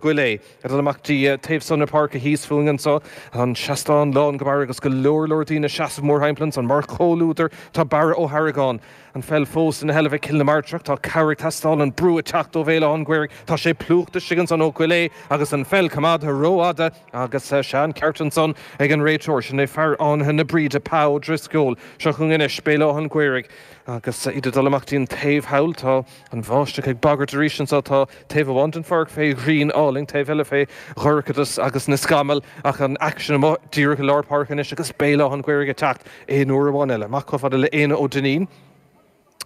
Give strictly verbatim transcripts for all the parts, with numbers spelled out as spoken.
Goile ag dul amach dtí taobh san na páirce thíos fúinn anseo an seastán lán go barr agus go leor leor daoine ag seasamh mórthimpeall ansan mar chomhluadar tá Barra Ó hArgáin an pheil fós ina sheilbh ag Cill na Martra tá cabhair ag teastáil an brú ag teacht ó Bhéal Átha an Ghaorthaidh tá sé plúchta istigh ansan ó Goile agus an pheil coimeádta rófhada agus sea an ceart ansan ag an réiteoir sin é fear Fhánaithe na Bríde Pa Ó Drisceoil seo chugainn anois Béal Átha an Ghaorthaidh agus iad ag dul amach dtí an taobh thall tá an bháisteach ag bagairt arís anseo tá taobh amháin den pháirc fé ghrian álainn taobh eile fé dhorchadas agus na scamaill ach an aicsean amuigh díreach i lár páirce anois agus Béal Átha an Ghaorthaidh ag teacht aon uair amháin eile amach chomh fada le Éanna Ó Duinnín.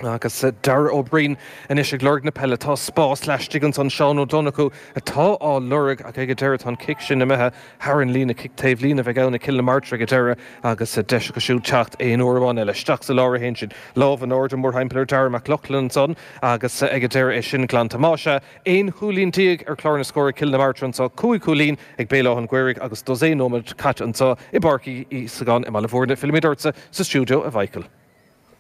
Agus Dara Ó Briain anois ag lorg na peile. Tá spás laistigh ansan Seán Ó Donnchú atá á lorg ach ag an deireadh tá an cic sin imithe thar an líne, cic taobh líne a bheidh ann ag Cill na Martra ag an deireadh agus deis acu siúd teacht aon uair amháin eile. Isteach sa lár a théann siad. Lámh in airde mórthimpeall ar Dara Mac Lochlainn ansan agus ag an deireadh é sin glanta. Más ea, aon chúilín déag ar chlár na scór ag Cill na Martra anso, cúig chúilín ag Béal Átha an Ghaorthaidh agus dosaen nóiméad caite anso i bPáirc Uí Íosagáin i mBaile Bhúirne. Fillimid ortsa sa stiúideo, a Mhichael.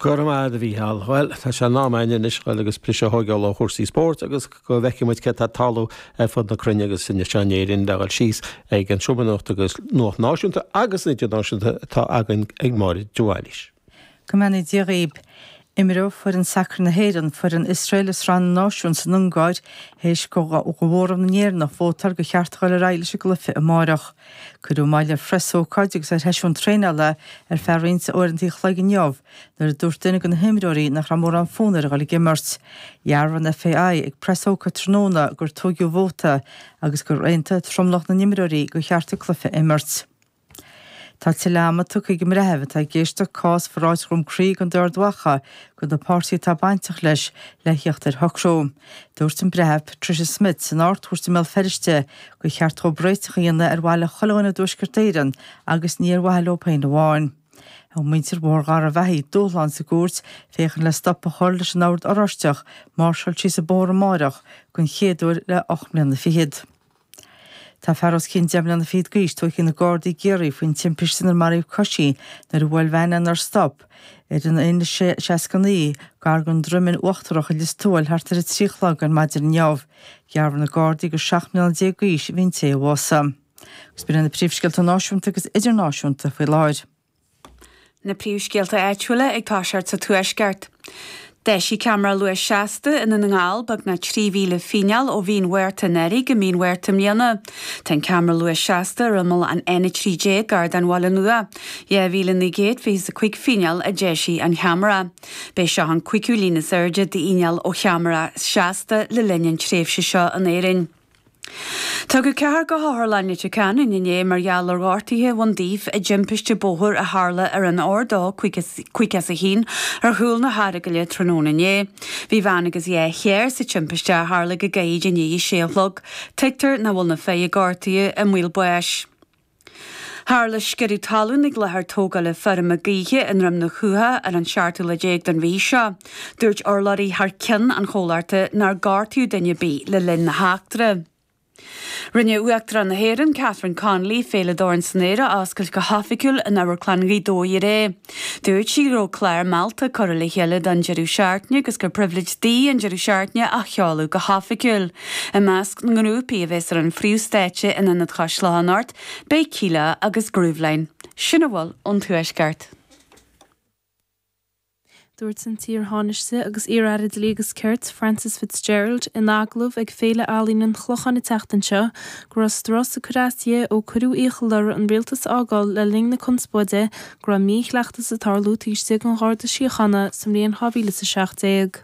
Go raibh maith agat a Mhícheáil. Bhuel, tá sé in am againn anois dhul agus briseadh a thógáil ó chúrsaí spóirt agus go bhfeicfidh muid céard atá ag tarlú ar fud na cruinne agus anseo in Éirinn le dhul síos ag an Seomra Nuachta agus nuacht náisiúnta agus idirnáisiúnta atá againn ag Máire de Bhailís. Go mbeannaí Dia dhaoib. Imreoidh foireann sacair na hÉireann foireann Iosrael i Sraith na Náisiún san Ungáir théis do mhóramh na nÉireannach vótáil gur cheart a dhul ar aghaidh leis an gcluiche amárach. Cuireadh moill ar phreasócáid agus ar sheisiún traenála ar feadh roinnt uaireanta an chloig inniu nuair a dúirt duine de na himreoirí nach raibh mórán fonn air a dhul ag imirt. Dhearbhaigh an FAI ag preasócáid tráthnóna gur toghadh vóta agus gur aontaigh tromlach na n-imreoirí gur cheart an cluiche a imirt. Tá tuilleadh ama tugtha ag an mbreitheamh atá ag éisteacht cás Pharáid Dhroim Crí i gContae Ard Mhacha do na páirtithe atá bainteach leis le theacht ar shocrú. Dúirt an Breitheamh Patricia Smith san Ard-Chúirt i mBéal Feirste gur cheart dóibh réiteach a dhéanamh ar mhaithe le chuile dhuine i dTuaisceart Éireann agus ní ar mhaithe leo féin amháin. Thug muintir Bhóthar Gharbhachaidh dúshlán sa gcúirt féachaint le stop a chur leis an Ord Oráisteach máirseáil síos an bóthar amárach den chéad uair le ocht mbliana fichead. Tá fear os cionn deich mbliana fichead d'aois tógtha ag na Gardaí i gCiarraí faoin timpiste inar maraíodh coisí nuair a bhuail veain é nár stop ar an N seasca naoi gar don Droimeann Uachtarach i Lios Tuathail thart ar a trí a chlog ar maidin inniu. Dhearbhaigh na Gardaí gur seacht mbliana déag d'aois a bhí an té a bhásaigh. Agus b'in iad na príomhscéalta náisiúnta agus idirnáisiúnta faoi láthair. Na príomhscéalta áitiúla ag toiseacht sa Tuaisceart. D'eisigh ceamara luais seasta i nDún na nGall beagnach trí mhíle fíneáil ó mhí an Mhárta anuraidh go mí an Mhárta i mbliana. Tá an ceamara luais seasta ar imeall an N a trí déag gar don Bhaile Nua. Dhá mhíle naoi gcéad fiche is a cúig fíneáil a d'eisigh an cheamara. B'é seo an cúigiú líon is airde d'fhíneáil ó cheamara seasta le linn an tréimhse seo in Éirinn. Tugadh ceathrar go hOtharlann Leitir Ceanainn inné mar gheall ar ghortuithe a bhain daofa i dtimpiste bóthair a tharla ar an R dó caoga is a haon ar chúl na hEaragaile tráthnóna inné. Bhí bean agus dhá charr sa timpiste a tharla go gairid i ndiaidh a sé a chlog. Tuigtear nach bhfuil na fir a gortaíodh i mbaol báis. Tharla sciorradh talún ag láthair tógála feirme gaoithe i nDroim na Chuaiche ar an seachtú lá déag den mhí seo. Dúirt urlabhraí thar ceann an chomhlachta nár gortaíodh duine ar bith le linn na heachtra. Rinne Uachtarán na hÉireann, Catherine Connolly, Féile Dorn san Aer a oscailt go hoifigiúil in Amharclann Ghaoth Dobhair aréir. Dúirt sí go raibh clár meallta curtha le chéile don deireadh seachtaine agus gur pribhléid di an deireadh seachtaine a sheoladh go hoifigiúil. I measc na ngrúpaí a bheas ar an phríomhstáitse in Ionad Chois Locha anocht, Beidh Kíla agus Grooveline. Sin a bhfuil ón Tuaisceart. Dúirt an t-iar-Thánaiste agus iar-Aire Dlí agus Cirt, Frances Fitzgerald, in agallamh ag Féile Ealaíon an Chlocháin an tseachtain seo go raibh strus ag cur as di ó cuireadh iachall uirthi an rialtas a fhágáil le linn na conspóide go raibh míchleachtas ag tarlú taobh istigh den Gharda Síochána sa mbliain dhá mhíle is a seacht déag.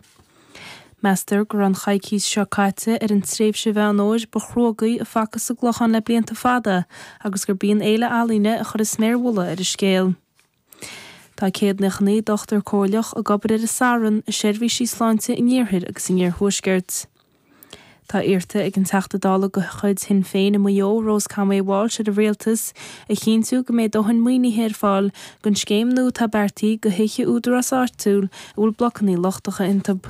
Meastar go raibh an choicís seo caite ar an tréimhse Mheán Fhómhair ba chruógaí a facthas sa gClochán le blianta fada agus gurb í an fhéile ealaíne a chuir an sméar mhullaigh ar an scéal. Tá céad nócha naoi dochtúir comhairleach ag obair ar an Satharn i seirbhísí sláinte in iarthar agus in iarthuaisceart. Tá iarrta ag an Teachta Dála de chuid Shinn Féin i Maigh Eo, Rose Conway Walsh ar an Rialtas a chinntiú go mbeidh dóthain maoinithe ar fáil don scéim nua atá beartaithe do thithe údarás áitiúil a bhfuil blocanna lochtacha iontu.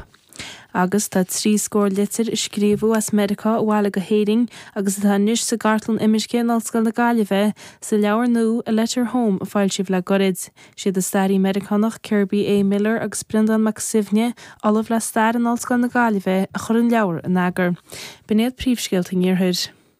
Agus tá trí scór litir a scríobhadh as Meiriceá abhaile go hÉirinn agus atá anois sa gcartlann imirce in Ollscoil na Gaillimhe sa leabhar nua A Letter Home a foilsíodh le gairid. Siad an staraí Meiriceánach Kirby A. Miller agus Breandán Mac Suibhne, Ollamh le Stair in Ollscoil na Gaillimhe, a chuir an leabhar in eagar. B'in iad príomhscéalta an Iarthair.